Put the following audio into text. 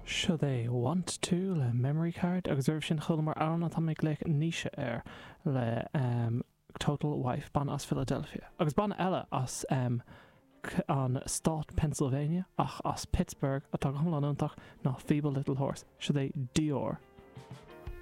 Siod é Want To le Memory Card agus roimh sin chualamar amhrán atá mé ag glaoch Naoise air le Total Wife, banna as Philadelphia. Agus banna eile as an stát Pennsylvania ach as Pittsburgh atá go hiomlán iontach ná Feeble Little Horse. Siod é Dior.